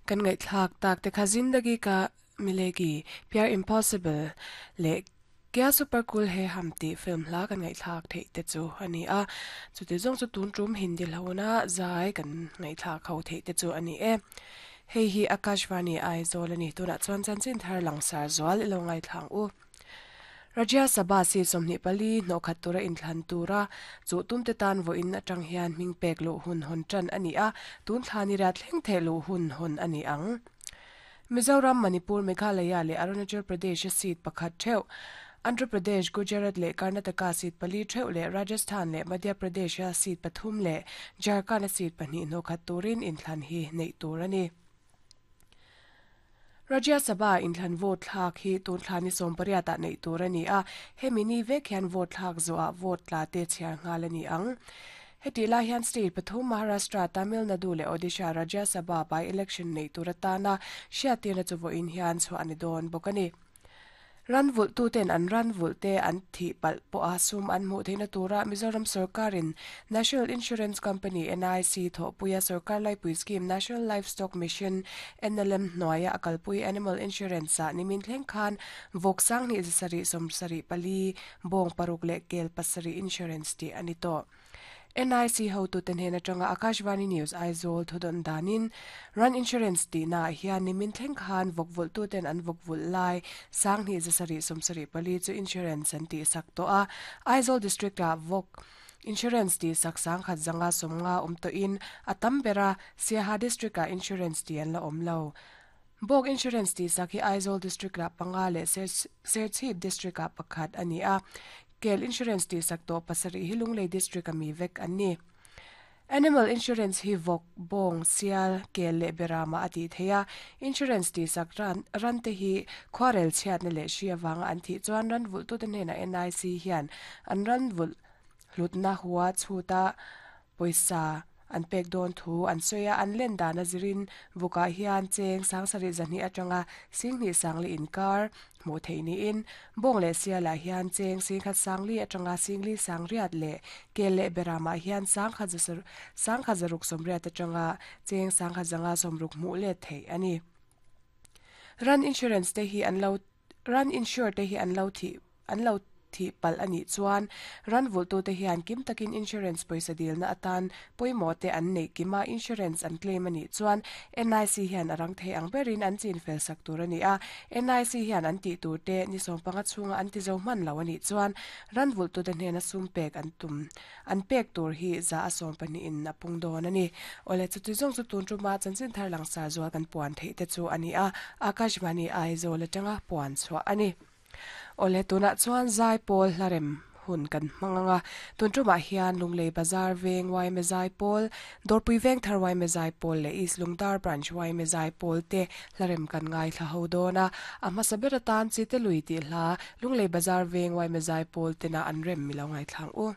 Kan ngaihthlak tak te kha Zindagi Ka Milegi, Pyar Impossible leh Kya Super Cool Hai Hum tih film hla kan ngaihthlak theih te chu a ni a. Chuti zawng chu tun tum Hindi hlona zai kan ngaihthlak ho theih te chu a ni e. Hei hi Akashvani Aizawl a ni. Tunah chuan chanchin thar langsar zual i lo ngaithla ang u. Rajya Sabha seat 24 hnawhkhat tura inthlan tura chuh tumte tan vawiin atang hian hming pek luh hun hawn tan a ni a, tun thla ni riat thleng theh luh hun hawn a ni ang. Mizoram, Manipur, Meghalaya leh Arunachal Pradesh-a seat pakhat theuh, Andhra Pradesh, Gujarat leh Karnataka seat pali theuh leh Rajasthan leh Madhya Pradesh-a seat pathum leh Jharkhand-a seat pahnih hnawhkhat turin inthlan hi neih tur a ni. Rajya Sabha inthlan vote thlak hi tun thla ni 18 ah neih tur a ni a, hemi ni vek hian vote thlak zawhah vote tla te chhiar nghal a ni ang. Hetih lai hian state pathum Maharashtra, Tamil Nadu leh Odisha Rajya Sabha by-election neih tur atana hriattirna chu vawiin hian chhuah a ni dawn bawk a ni. Ran vulhtuten an ran vulhte an thih palh pawha sum an hmuh theihna tura Mizoram sawrkarin National Insurance Company, NIC, thawhpuia sawrkar laipui scheme National Livestock Mission, NLM, hnuaia a kalpui Animal Insurance-ah nimin thleng khan vawk sanghnih zasarih sawmsarih pali, bawng paruk leh kel pasarih insurance tih a ni tawh. NIC hotute hnen atanga Akashvani News Aizawl thudawn danin Run Insurance tihnaah hian nimin thleng khan vawk vulhtuten an vawk vulh lai sanghnih zasarih sawmsarih pali chu insurance an tihsak tawh a. Aizawl District-ah vawk insurance tihsak sangkhat zanga sawmnga awm tawhin a tam ber a, Siaha District-ah insurance tih an la awm lo. Bawk insurance tihsak hi Aizawl District-ah panga leh Serchhip District-ah pakhat a ni a. Kel insurance tihsak tawh pasarih hi Lunglei District-a mi vek an ni. Animal insurance hi vawk, bawng, sial, kel leh beramah a tih theih a. Insurance tihsak ran rante hi khuarel chhiatna leh hri avanga an thih chuan ran vulhtute hnenah NIC hian an ran vulh hlutna hua chhuta Pawisa an pek dawn thu an sawi a, an len dan a zirin vukah hian cheng sangsarih zahnih atanga singhnih sangli inkar hmuh theih niin bawng leh sialah hian cheng singkhat sangli atanga singli sangriat leh kel leh beramah hian sangkhat sangkhat zaruk sawmriat atanga cheng sangkhat zanga sawmruk hmuh let theih a ni. Ran insurance te hi an lo Ran insure te hi an lo thih an lo thih palh a nih chuan ran vulhtute hian kim takin insurance pawisa dilna atan pawimawh te an neih kim a, insurance an claim a nih chuan NIC hian a rang thei ang berin an chin fel sak tur a ni a, NIC hian an tih tur te ni sawmpanga chhunga an ti zo hman lo a nih chuan ran vulhtute hnena sum pek an tum an pek tur hi za a 12 in a pung dawn a ni. Awle chuti zawng chu tun tuma chanchin thar langsar zual kan puan theih te chu a ni a, Akashvani Aizawl atanga puan chhuah a ni. Awle tunah chuan Zaipawl hlarem hun kan hmang ang a, tun tumah hian Lunglei Bazar Veng Yma Zaipawl, Dawrpui Veng Thar Yma Zaipawl leh East Lungdar Branch Yma Zaipawl te hlarem kan ngaithla ho dawn a, a hmasa ber atan Chite Lui tih hla Lunglei Bazar Veng Yma Zaipawl tena an rem mi lo ngaithla ang u.